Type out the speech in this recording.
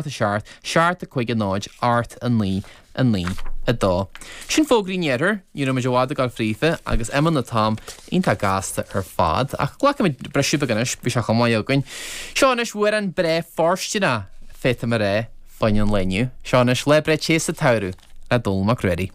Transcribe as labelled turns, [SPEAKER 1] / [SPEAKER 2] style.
[SPEAKER 1] 7, 7, 5, 0, 8, 9, 9, 2. Sin fógraí an iarthair, ní raibh muid i bhfad ag dul fríofa agus imíonn an t-am iontach gasta ar fad. Ach glacfaimid briseadh beag anois, bhí sé chomh maith againn. Seo anois amhrán breá fóirsteanach, féadfaidh mé a rá, fá choinne an lae inniu. Seo anois Lá Breá Te sa tSamhradh le Dónall Mac Ruairí.